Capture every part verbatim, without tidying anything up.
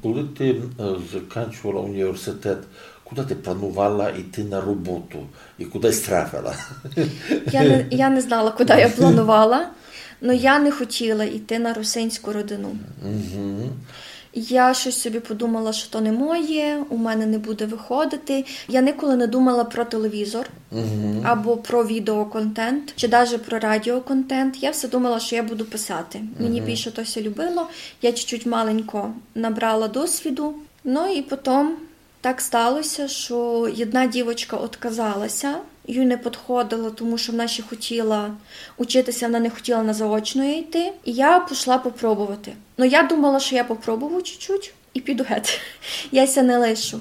Коли ти е, закінчувала університет, куди ти планувала йти на роботу і куди сь трафила? Я не, я не знала, куди я планувала, але я не хотіла йти на русинську родину. Угу. Я щось собі подумала, що то не моє, у мене не буде виходити. Я ніколи не думала про телевізор або про відеоконтент, чи навіть про радіоконтент. Я все думала, що я буду писати. Мені більше то ся любило. Я чуть-чуть маленько набрала досвіду. Ну і потім так сталося, що одна дівочка отказалася, їй не підходило, тому що вона ще хотіла учитися, вона не хотіла на заочну йти. І я пішла попробувати. Ну, я думала, що я попробую чуть-чуть і піду геть. Я ся не лишу.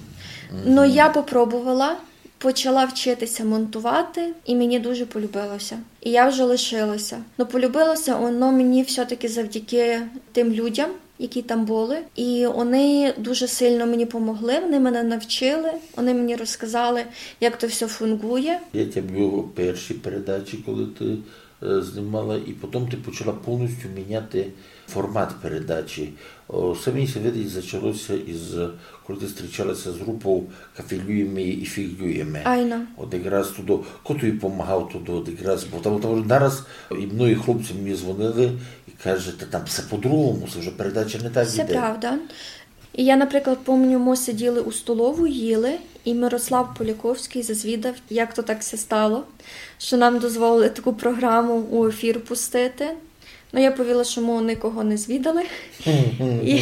Ну, я попробувала, почала вчитися монтувати, і мені дуже полюбилося. І я вже лишилася. Ну, полюбилося воно мені все-таки завдяки тим людям, які там були. І вони дуже сильно мені помогли, вони мене навчили, вони мені розказали, як то все функує. Я тебе бачив у першій передачі, коли ти е, знімала, і потім ти почала повністю міняти формат передачі. О, все мені ся видить, зачалося із, коли ти зустрічалася з групою «Кафелюєме і фіглюєме». Айно. От якраз туди, хто тобі помагав туди, от якраз, бо там, там нараз і многі хлопці мені дзвонили і кажуть: «Та там все по-другому, це вже передача не так іде». Правда. І я, наприклад, помню, ми сиділи у столову, їли, і Мирослав Поляковський зазвідав, як то так ся стало, що нам дозволили таку програму у ефір пустити. Ну, я повіла, що ми нікого не звідали. І,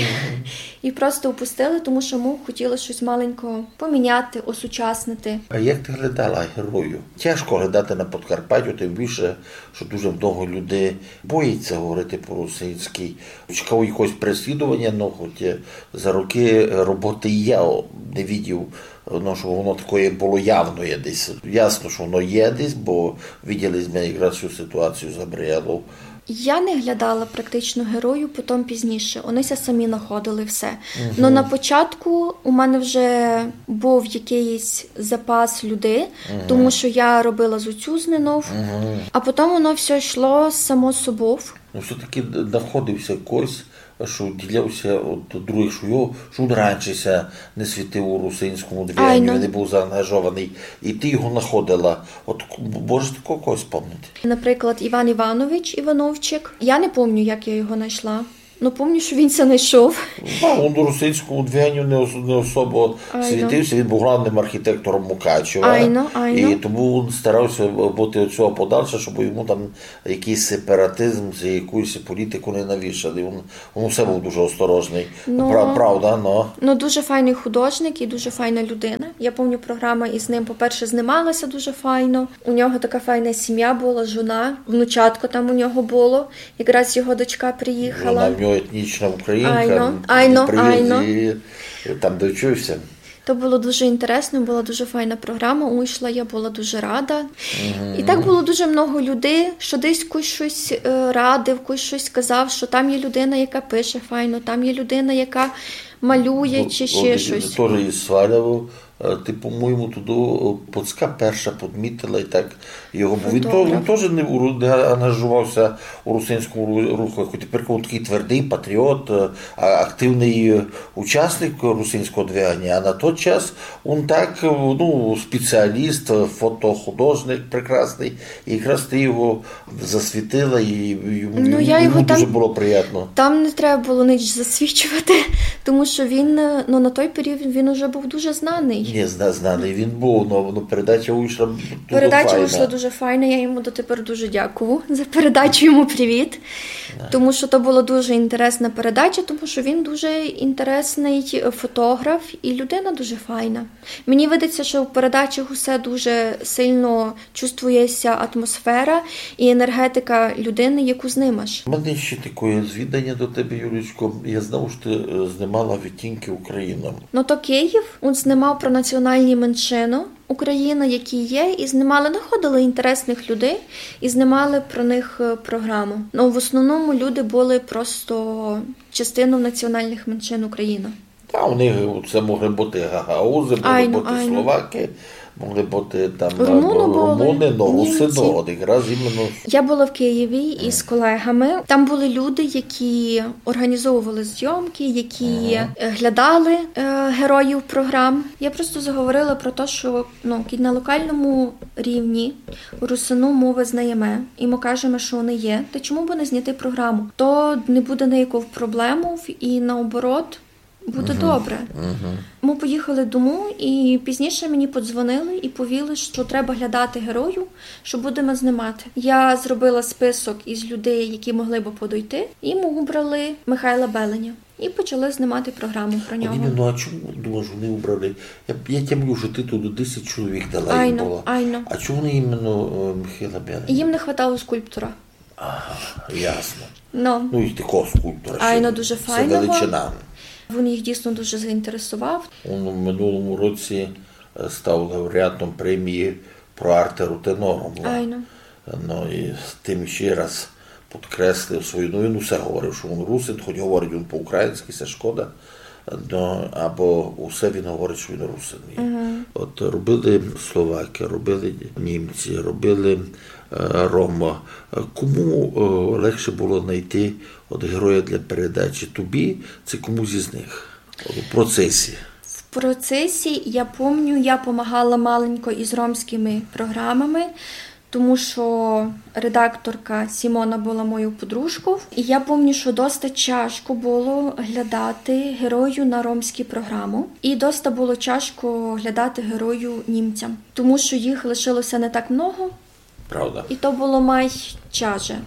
і просто упустили, тому що ми хотіли щось маленько поміняти, осучаснити. А як ти глядала герою? Тяжко глядати на Подкарпаттю, тим більше, що дуже много людей боїться говорити по-русинськи. Чекав якогось переслідування, ну, хоч е, за роки е, роботи я о, не видів, ну, що воно такоє було явноє десь. Ясно, що воно є десь, бо виділи ми якраз цю ситуацію з Габріелов. Я не глядала практично герою, потім пізніше. Вони ся самі знаходили все. Ну, на початку у мене вже був якийсь запас людей, тому що я робила з оцю знинов, а потім воно все йшло само собою. Ну, все-таки д- знаходився якось, що відділявся від других, що його, що він раніше ся не світив у русинському движенню, не був заангажований. І ти його знаходила. От к- можеш такого когось спомнити? Наприклад, Іван Іванович Івановчик. Я не пам'ятаю, як я його знайшла. Ну, пам'ятаю, що він ся знайшов. Ну, він у русинському движенню не, ос- не особо світився, він був головним архітектором Мукачева. Айно, айно. І тому він старався бути від цього подальше, щоб йому там якийсь сепаратизм чи якусь політику не навішали. Він, він все був дуже осторожний. Ну, Пра- правда, ну. Ну, дуже файний художник і дуже файна людина. Я пам'ятаю, програма із ним, по-перше, знімалася дуже файно. У нього така файна сім'я була, жона, внучатко там у нього було. Якраз його дочка приїхала. Вона в нього етнічна українка, Айно, айно, він приїхав айно. І там довчився. То було дуже інтересно, була дуже файна програма, уйшла, я була дуже рада. І так було дуже много людей, що десь хтось щось е, радив, хтось щось казав, що там є людина, яка пише файно, там є людина, яка малює чи ще щось. Тоже із Сваляву. Е, Ти, по-моєму, туди е, Поцька перша підмітила і так його. Бо він, то, він теж не, уру- не ангажувався у русинському ру- руху. Як тепер він такий твердий патріот, е, а- активний е, учасник русинського движення. А на той час він так, е, ну, спеціаліст, е, фотохудожник прекрасний. І якраз ти його засвітила, і йому, Ну, я йому його дуже там- було приємно. Там не треба було ніч засвічувати, тому що він е, ну, на той період він уже був дуже знаний. Ні, зна- знаний він був, але ну, передача вийшла дуже Передача файна. Вийшла дуже файна, я йому дотепер дуже дякую за передачу, йому привіт. Тому що то була дуже інтересна передача, тому що він дуже інтересний е, фотограф і людина дуже файна. Мені видиться, що в передачах усе дуже сильно чувствується атмосфера і енергетика людини, яку знимаш. У мене ще таке звідання до тебе, Юлічко. Я знав, що ти е, знімала відтінки Українам. Ну, то Київ, він знімав про національні меншини України, які є, і знімали, знаходили інтересних людей і знімали про них е, програму. Ну, в основному люди були просто частиною національних меншин України. Та у них це могли бути гагаузи, могли Айно, бути айно. словаки. Могли быти там, е, румуны, но русины, от якраз іменно. Я была в Києві із, мгм, колегами. Там были люди, які організовували зйомки, які, мгм, е, глядали, е, героїв програм. Я просто заговорила про те, що, ну, кідь на локальному рівні русину мы визнаєме, і мы кажеме, що они є, та чому бы не зняти програму? То не буде ніяких проблем, і наоборот, буде добре. Мгм. Мы поїхали дому, і пізніше мені подзвонили і повіли, що треба глядати героїв, що будеме знімати. Я зробила список із людей, які могли бы подойти, і мы выбрали Михайла Беленя. І почали знімати програму про нього. От іменно, а чому, думаєш, вони выбрали? Я, я тямлю, що ти туды десять чоловік дала їм. Айно, было. Айно. А чому вони іменно, е, Михайла Беленя? Їм не хватало скульптора. Ага, ясно. Ну. Ну, і такого скульптора ще. Айно, дуже файного. Величина. Він їх дійсно дуже заінтересував. Він у минулому році, е, став лауреатом премії Pro Arte Ruthenorum. Айно. Ну, і тим ще раз підкреслив свою, ну, він усе говорив, що він русин, хоч говорить він по-українськи, це шкода. Ну, або усе він говорить, що він русин є. Мгм. От робили словаки, робили німці, робили, е, рома. Е, кому, е, легше было знайти от героя для передачі? Тобі, ци комусь із них? От у процесі. В процесі, я помню, я помагала маленько із ромськыми програмами, тому що редакторка Сімона была моєю подружков. І я помню, що доста тяжко было глядати герою на ромську програму. І доста было тяжко глядати герою німцям, тому що їх лишилося не так много. Правда. І то было май тяже.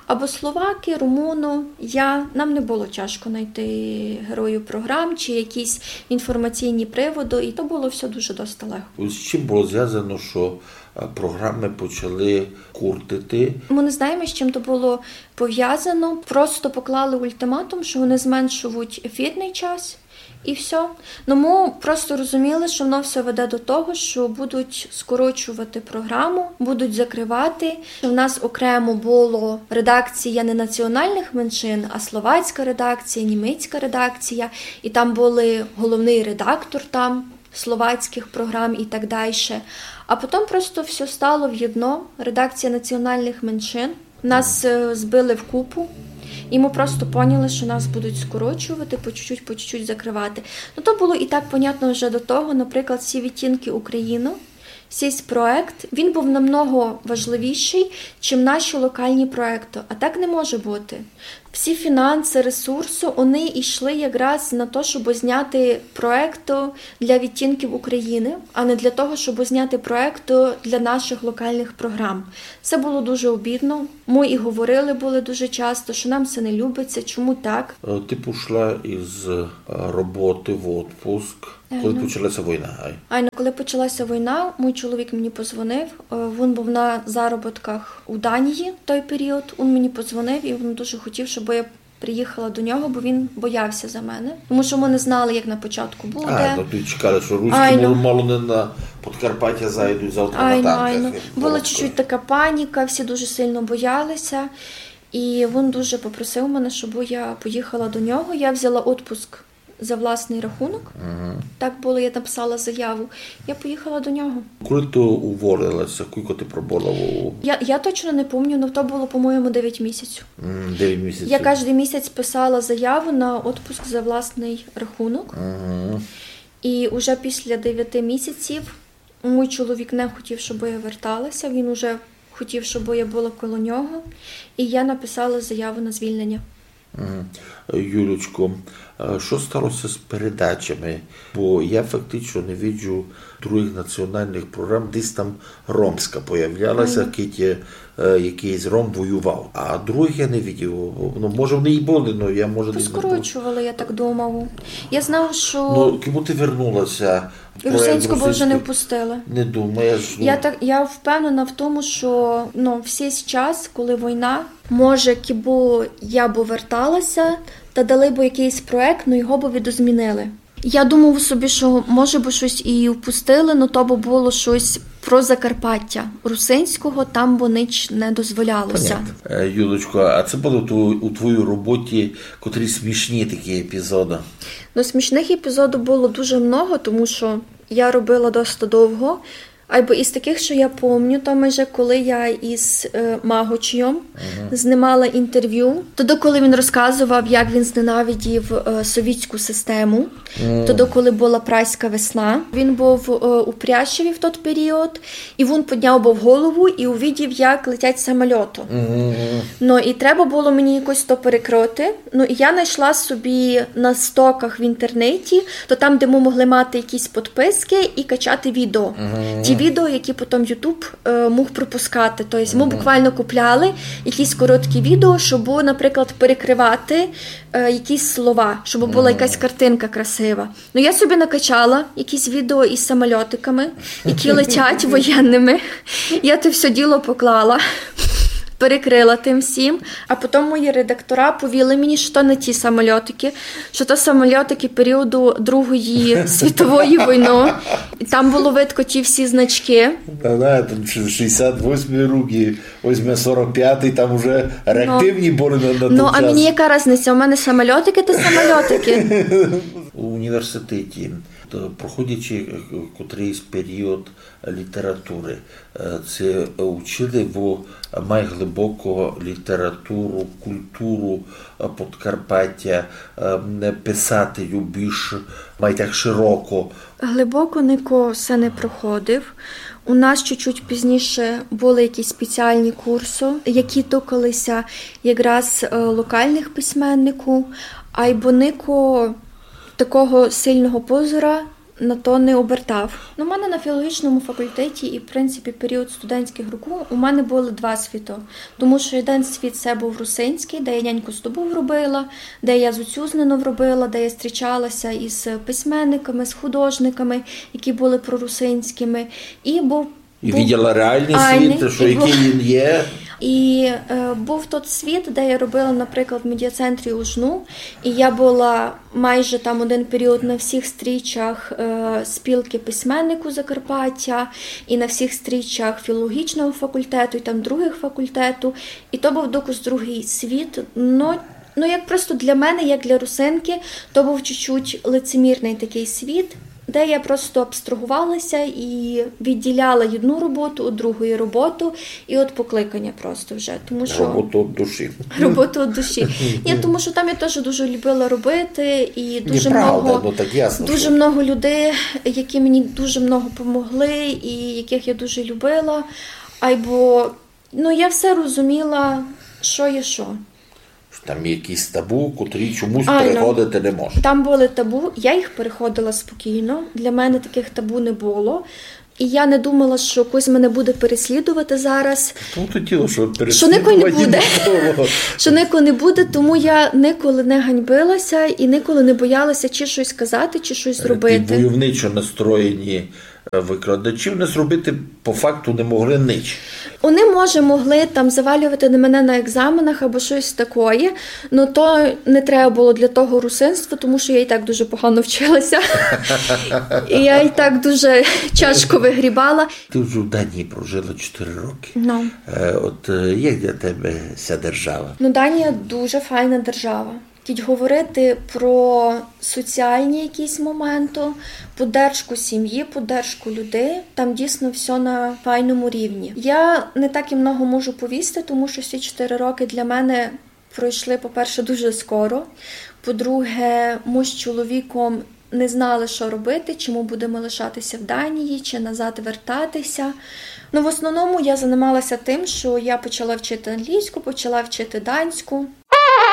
Або словаки, румуно, я, нам не было тяжко знайти героїв програм чи якісь інформаційні приводы, і то было все дуже доста легко. З чим было звязано, що, е, програми почали куртити? Мы не знаєме, з чим то было повязано. Просто поклали ультиматум, що вони зменшують ефірный час. І всьо. Ну, мы просто розуміли, що воно всьо веде до того, що будуть скорочувати програму, будуть закривати. У нас окремо было редакція не національных меншин, а словацька редакція, німецька редакція. І там были головный редактор там словацькых програм і так дальше. А потім просто всьо стало в єдно. Редакція національных меншин. Нас, е, збили вкупу, і мы просто поняли, що нас будуть скорочувати, по чуть-чуть, по чуть-чуть закривати. Ну, то было і так понятно вже до того, наприклад, «Всі відтінки України», сись проект, він быв намного важливішый, чим наші локальні проекты. А так не може быти. Всі фінанси, ресурси, вони йшли якраз на то, щоб зняти проекты для «Відтінків України», а не для того, щоб зняти проекты для наших локальних програм. Це было дуже обідно. Мы і говорили были дуже часто, що нам це не любиться, чому так. Е, ти пішла із, е, роботи в отпуск, коли почалася війна, ай? Айно, коли почалася війна, мій чоловік мені позвонив. Е, він быв на заробітках у Данії в той період. Він мені позвонив, і він дуже хотів, щоб я приїхала до нього, бо він боявся за мене. Тому що мы не знали, як на початку буде. А, ну, ти чекала, що руські мало, мало не на Подкарпаття зайдуть з автоматами. Айно, айно. Была чуть-чуть така паніка, всі дуже сильно боялися. І він дуже попросив мене, щоб я поїхала до нього. Я взяла отпуск за власный рахунок. Мгм. Так было, я написала заяву. Я поїхала до нього. Коли ти уволилася, кілько ти пробула у... Я, я точно не помню, но то было, по-моєму, девять місяців. М, девять місяців. Я каждый місяць писала заяву на отпуск за власный рахунок. Мгм. І уже після девяти місяців мій чоловік не хотів, щоб я верталася. Він уже хотів, щоб я была коло нього. І я написала заяву на звільнення. Мгм. Юлечко, е, що сталося з передачами? Бо я фактично не виджу других національних програм, десь там ромська появлялася, мгм, кідь, е, якыйсь ром воював. А других я не видів. Ну, може, вони і были, но я, може, не знав. Поскорочували, я так думаю. Я знаю, що... Ну, кому ти вернулася? Русинську бы вже не впустили. Не думаєш, ну. Я так, я впевнена в тому, що, ну, в сей час, коли війна, може, кібы я бы верталася, та дали бы якыйсь проект, но його бы видозмінили. Я думаю собі, що, може бы, штось і впустили, но то бы было штось про Закарпаття русинського, там бы нич не дозволялося. Понятно. Е, Юлечко, а ци были у тво-, у твоїй роботі котрі смішні такі епізоды? Ну, смішных епізодів было дуже много, тому що я робила доста довго. Айбо із такых, што я помню, то майже коли я із е, Магочйом знимала інтервю, тоді, коли він розказував, як він зненавидів е, совітську систему, тоді, коли была прайська весна, він быв е, у Пряшеві в тот період, і він підняв быв голову і увидів, як летять самольоты. Ну, і треба было мені якось то перекрыти. Ну, і я знайшла собі на стоках в інтернеті, то там, де мы могли мати якісь підписки і качати відео. Ті відео, які потім YouTube е, мог пропускати. Тобто мы буквально купляли якісь короткі відео, щоб, наприклад, перекривати е, якісь слова, щоб была якась картинка красива. Ну, я собі накачала якісь відео із самольотиками, які летять воєнными. Я те всьо діло поклала, перекрыла тым всім. А потім мої редактора повіли мені, што то не ті самольотики, што то самольотики періоду Другої світової войны. І там было видко ті всі значки. Да, да, там шістдесят восьмый рік і возьме сорок пятый, там уже реактивні были на, на Ну, тот а час. Мені яка різниця? У мене самольотики, то самольотики. У університеті, то, проходячи е, котрыйсь період літературы, е, ци учили вы май глибоко літературу, культуру е, Подкарпатя, е, писати ю більш май так широко? Глибоко нико се не проходив. У нас чуть-чуть пізніше были якісь спеціальні курсы, які тыкали ся якраз е, локалных письменників, айбо нико такого сильного позора на то не обертав. Ну, у мене на філологічному факультеті і, в принципі, період студентськых років у мене были два світы. Тому што єден світ се быв русинськый, де я няньку з тобов робила, де я з Уцюзнинов робила, де я зустрічала ся із письменниками, з художниками, які были прорусинськыми. І быв І виділа реалный світ, што якый він є. І е, быв тот світ, де я робила, наприклад, в медіацентрі УжНУ, і я была майже там один період на всіх стрічах е, спілки письменників Закарпаття, і на всіх стрічах філологічного факультету, і там другых факультетів. І то быв докус другый світ. Но, ну, як просто для мене, як для русинки, то быв чуть-чуть лицемірный такый світ, де я просто абстрагувала ся і відділяла одну роботу од другої роботы, і од покликаня просто вже. Тому што... Роботу од душі. Роботу од душі. Ні, тому што там я теж дуже любила робити, і дуже Неправда, много, ну так ясно, дуже што много людей, які мені дуже много помогли, і якых я дуже любила. Айбо, ну, я все розуміла, што є што. Там є якісь табу, котрі чомусь Айно. Переходити не можна. Там были табу, я їх переходила спокійно. Для мене такых табу не было. І я не думала, што хтось мене буде переслідувати зараз. Тому то діло, што Што никого не переслідувані буде. не было. Што никого не буде, тому я николи не ганьбила ся і николи не бояла ся чи штось казати, чи штось Ті робити. Войовничо настроєні е, викладачі в нас робити по факту не могли нич. Они, може, могли там завалювати на мене на екзаменах або штось такоє, но то не треба было для того русинства, тому што я і так дуже погано вчила ся. І я і так дуже тяжко выгрібала. Ти вже в Данії прожила чотири роки. Ну. Е, От е, як для тебе ця держава? Ну, Данія дуже файна держава. Кідь говорити про соціальні якісь моменты, поддержку сім'ї, поддержку людей, там дійсно всьо на файному рівні. Я не так і много можу повісти, тому што всі чотири роки для мене пройшли, по-перше, дуже скоро. По-друге, мы з чоловіком не знали, што робити, чи мы будеме лишати ся в Данії, чи назад вертати ся. Ну, в основному я занимала ся тым, што я почала вчити англійську, почала вчити данську.